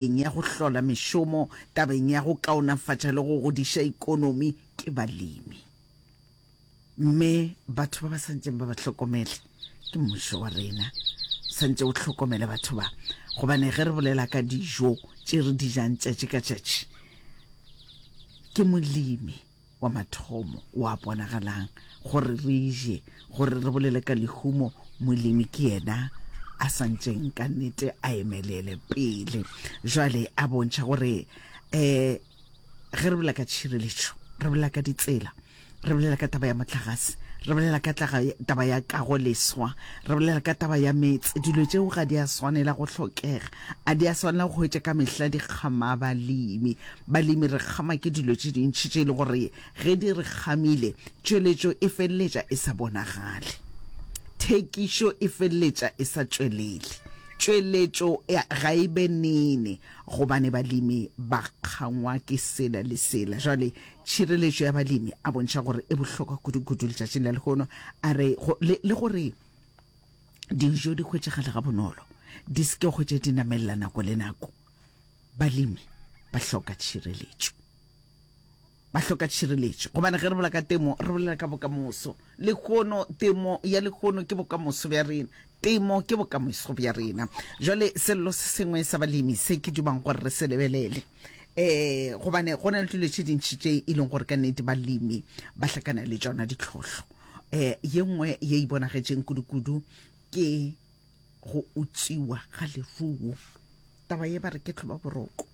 Ya go hlola mešomo, tabeng ya go kaonafatša le go godiša ikonomi ke balemi. Mme batho ba ba santšeng ba ba hlokomele ke mmušo wa rena, santše o hlokomele batho ba, gobane ge re bolela ka dijo tše re di jang tšatši ka tšatši, ke molemi. wa mathomo wa bonagalang gore re je, gore re bolele ka lehumo, molemi ke yena a santšeng ka nnete a emelele pele. Jwale a bontšha gore um ge re bolela ka tšhireletšo, re bolela ka ditsela, re bolela ka taba ya mohlagase, re bolela ka taba ya kago leswa, re bolela ka taba ya meetse, dilo tšeo ga di a swanela go hlokega, a di a swanela go hwetša ka mehla di kgama balemi. Balemi re kgama ke dilo tše dintši tše e le gore ge di re kgamile, tšweletšo e feleletša e sa bonagale. Thekišo e feleletša e sa tšwelele. Tšweletšo ga e be nene gobane balemi ba kgangwa ke sela le sela. Jwale tšhireletšo ya balemi a bontšha gore e bohlokwa kudu-kudu letšatšing la lehono. A re le, le gore dijo di hwetšagale gabonolo, di se ke hwetše di namelela nako le nako. Balemi ba hloka tšhireletšo. Ba hloka tšhireletšo gobane ge re bolela ka temo re bolela ka bokamoso. Lehono temo ya lehono ke bokamoso bja rena. Temo ke bokamoso bja rena. Jwale sello se sengwe sa balemi se ke dumang gore re se lebelele eh gobane go na le dilo tše dintši tše e leng gore ka nnete balemi ba hlakana le tšona ditlhohlo. Eh ye nngwe ye e bonagetšeng kudu-kudu ke go utswiwa ga leruo. Taba ye ba re ke tlhoba boroko.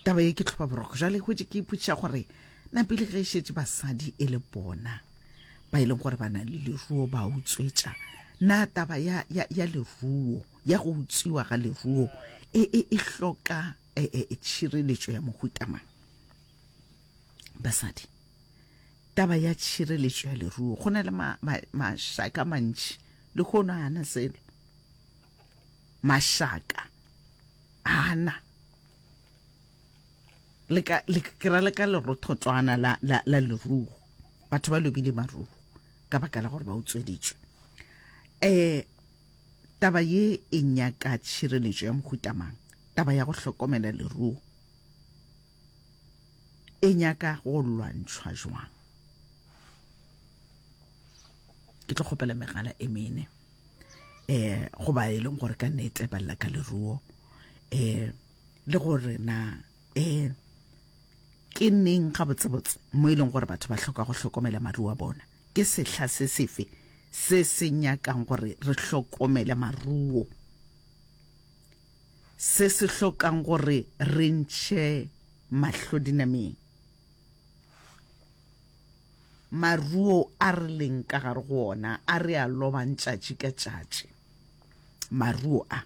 Taba ye ke tlhoba boroko. Jwale hwetše ke ipotšiša gore na pele ge e šetše basadi e le bona ba e leng gore ba na le leruo ba utswetša, na taba ya, ya, ya leruo, ya go utswiwa ga leruo e, e, e hloka e, e, e tšhireletšo ya mohuta mang? Basadi, taba ya tšhireletšo ya leruo, go na le ma, ma, mašaka mantši lehono a na selo. Mašaka a na le ka le ke ra le ka lerothotswana la la la leruo. Batho ba lobile maruo ka baka la gore ba utsweditšwe. Eh taba ye e nyaka tšhireletšo ya mohuta mang? Taba ya go hlokomela leruo e nyaka go lwantšhwa jwang? Ke tlo kgopela megala e mene. Eh go ba e leng gore ka nnete ba lla ka leruo eh le gore na eh ke neng gabotsebotse mo e leng gore batho ba hloka go hlokomela maruo a bona. Ke sehla se sefe se se nyakang gore re hlokomele maruo, se se hlokang gore re ntšhe mahlo dinameng? Maruo a re leng ka gare go ona a re a lobang tšatši ka tšatši. Maruo a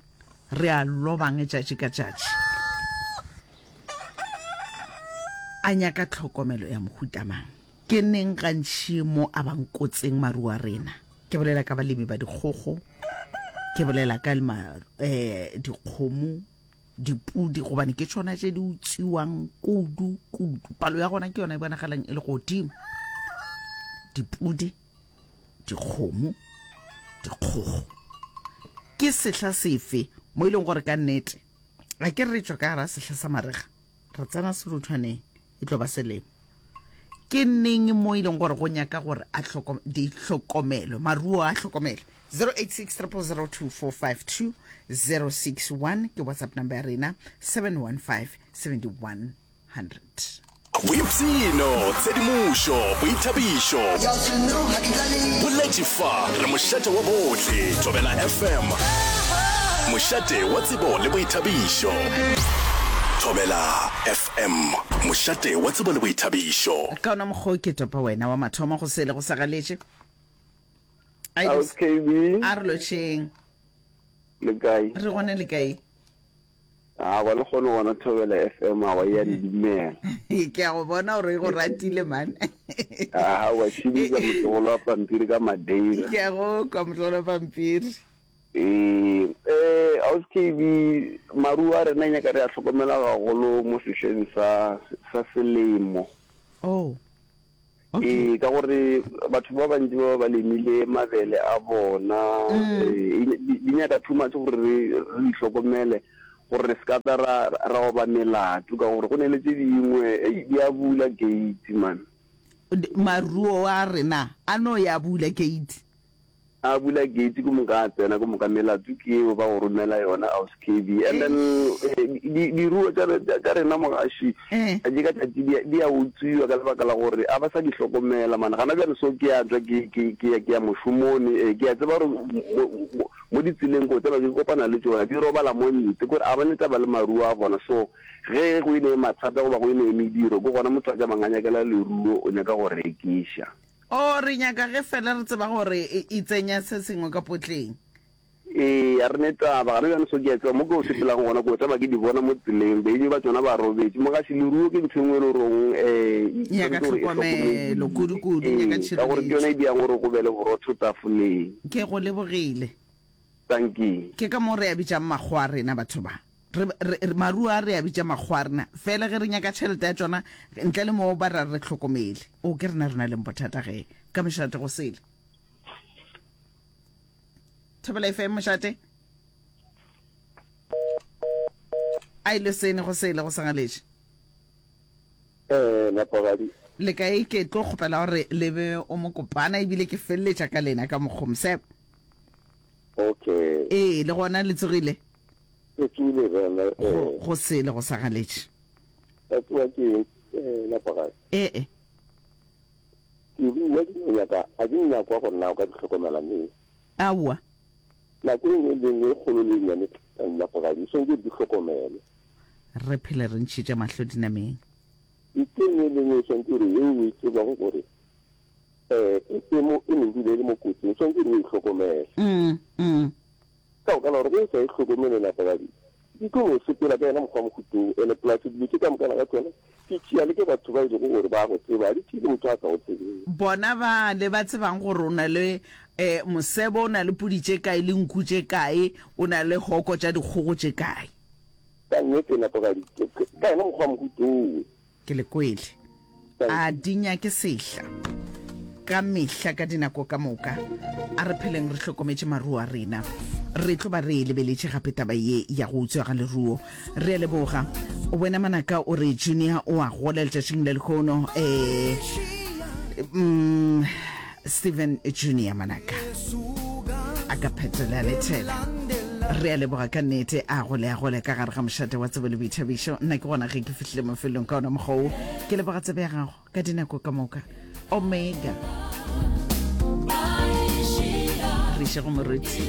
re a lobang tšatši ka tšatši a nyaka tlhokomelo ya mohuta mang? Ke neng gantši mo a bang kotsing maruo a rena? Ke bolela ka balemi ba dikgogo, ke bolela ka ma, eh, dikgomo, dipudi gobane ke tšona tše di utswiwang kudu kudu. Palo ya gona ke yona e bonagalang e le godimo. Dipudi, dikgomo, dikgogo. Ke sehla sefe mo e leng gore ka nnete a ke re tšwa ka gara sehla sa marega re tsena seruthwaneng e tlo ba selemo. Ke neng mo e leng gore go nyaka gore a di hlokomelwe, maruo a hlokomelwe? 086 000 2452 061 ke WhatsApp number ya rena, 715 7100. Boipshino, tshedimošo, boithabišo. Boletše fa re mošate wa bohle, Thobela FM. Mošate wa tsebo le boithabišo. Thobela FM, mošate wa tsebo le boithabišo. Ka ona mokgwa o ke topa wena wa mathomo go sele go sa galetše. A House KB. A re lotšheng. Le kae? Re gona le kae? A wa le kgone gona Thobela FM a wa ya ndumela. Ke a go bona gore e go ratile man. A wa šibisa motlogolo wa pampiri ka Madeira. Ke a go kwa motlogolo wa pampiri. Ee, eh, House KB, maruo a rena nyaka re a hlokomela gagolo mo sehleng sa sa selemo. Oh. Okay. Ee, ka gore batho ba bantši ba ba lemile mabele a bona, mm. eh, di nyaka too much gore re re di hlokomele. Gore re se ka tla ra, ra oba melato, ka gore go ne le tše dingwe, ei, di a bula gate, man. Maruo a rena a no ya bula gate. A bula gate, ke moka a tsena, ke moka melato ke yeo ba go romela yona, Aus KB. And then di, diruo tša, tša rena mogaši, tšatši ka tšatši di, di a utswiwa ka lebaka la gore a ba sa di hlokomela, man. Gana bjale so ke a tšwa ke, ke, ke ya, ke ya mošomong, eh, ke a tseba gore mo, mo, Mo ditseleng ko tseba ke kopana le tšona di robala mo ntle, kore a ba ne taba le maruo a bona. So ge go ene mathata goba go ene mediro, ke gona motho a tšamang a nyakela leruo, o nyaka go rekiša. Oh, re nyaka ge fela re tseba gore e tsenya se sengwe ka potleng. Ee, a re ne taba. Gana bjale so ke a tseba mo ke o sepelago gona, ko tseba ke di bona mo tseleng, beng ba tšona ba robetše. Mogaši, leruo ke ntho e nngwe e le goreng um e Nyaka tshwanetse gore e tlhokomelo, hlokomediwe. kudu-kudu, nyaka Ee, ka gore ke yona tšhireletšo. e diang gore go be le borotho tafoleng. Ke go lebogile. Dankie. Ke ka moo re a bitšang makgowa a rena batho ba. Re, re, re, maruo a re a bitša makgowa a rena. Fela ge re nyaka tšhelete ya tšona, ntle le moo ba re re hlokomele. O, ke rena re na leng bothata ge. Ka mošate go sele. Thobela FM mošate. A ile sene go sele go sangaletše. Eh, Napagadi. Le kae? Ke tlo kgopela gore le be o mo kopana ebile ke feleletša ka lena ka mokgo mosebe. Okay. Ee, le gona le tsogile? Re tsogile bana. Go, Eh. go sele go sa galetše. Ba tsoga ke eng, eh, Napagadi? Ee. Diruiwa di no nyaka, a di nyakwa gore na o ka di hlokomela neng? Aowa. Nako e nngwe le e nngwe e kgolo le e nnyane, Napagadi, o swanetše gore di hlokomelwe. Re phele re ntšhitše mahlo dinameng. Ntho e nngwe le e nngwe e swanetše gore yeo o e tsebago gore um e mo e no dula e le mo kotsing, o swanetše gore o e hlokomele. Ka baka la gore ge o sa e hlokomele napagadi di tlo no sepela ka yena mokgwa wa mohuta wo. Ene plus dilo tše ka mokana ga tšona di tšea le ke batho ba e lego gore ba go tseba, ga di tšee le motho a sa go tsebeng. Bona bale ba tsebang gore o na le um mosebo, o na le pudi tše kae le nku tše kae, o na le hoko tša dikgogo tše kae. Ka nnete napagadi ka yena mokgwa wa mohuta owe. Ke le kwele. A di nyake sehla. Ka mehla ka dinako ka moka a re pheleng re hlokometše maruo a rena. Re tlo ba re e lebeletše gape taba ye ya go utswa ga leruo. Re a leboga. Wena Manaka o re Junior o a gola letšatšing la lehono. Eh, mm, Steven Junior Manaka a ka phetola lethela. Re a leboga ka nnete a gole a gole ka gare ga mošate wa tsebo le boithabišo. Nna ke gona ge ke fihlile mafelong ka ona mokgwa wo. Ke leboga tsebe ya gago ka dinako ka moka. Omega. Re iše go moruti.